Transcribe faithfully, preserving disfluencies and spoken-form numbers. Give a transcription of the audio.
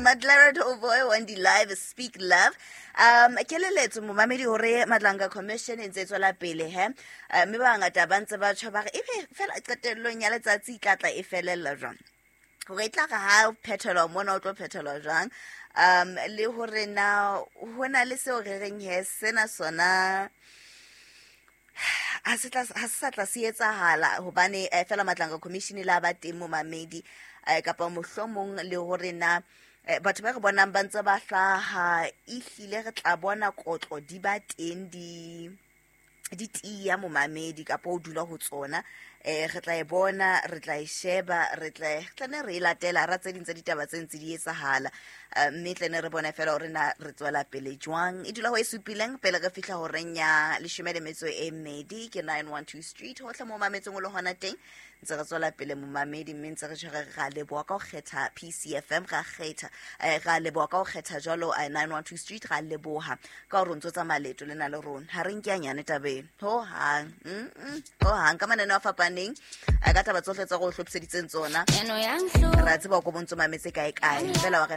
Madlera Doughboy Wendy Live Speak Love. Um keleletso momamedi hore Madlanga Commission e ntse e tswela pele he. Eh, mme ba bangata ba ntse ba tjho ba re ebe fela qetellong ya letsatsi e tla tla e felella jwang. Hore e tla re ha o phethelwa mona o tlo phethelwa jwang. Um le hore na ho na le seo re reng he sena sona ha se tla ha se sa tla se etsahala hobane eh, fela Madlanga Commission la ba teng momamedi eh, kapa mohlomong le hore na eh, batho ba re bonang ba ntse ba hlaha ehlile re tla bona kotlo di ba teng di di tiya momamedi kapa o dula ho tsona eh re tla e bona re tla e sheba re tla re tla ne re e latela ra tse ding tsa ditaba tse ntse di etsahala. Eh, mme tle ne re bone fela hore na re tswela pele jwang. E dula ho e supileng pele re fihla horeng ya leshome le metso e mmedi ke nine one two Street hohle mo mametseng o le hona teng ntse re tswela pele momamedi mme ntse re tjho re ra leboha ka ho kgetha P C F M ra kgetha eh, ra leboha ka ho kgetha jwalo, eh, nine one two Street ra leboha ka hore o ntso tsamaya leeto lena le rona. Ha re nke a nyane tabeng ho hang, mm, mm, ho hang ka mananeo a fapaneng, eh, ka taba tsohle tsa go hlophiseditseng tsona. Eno ya nhlo. Ra tseba ko bontso mametse kae kae fela wa re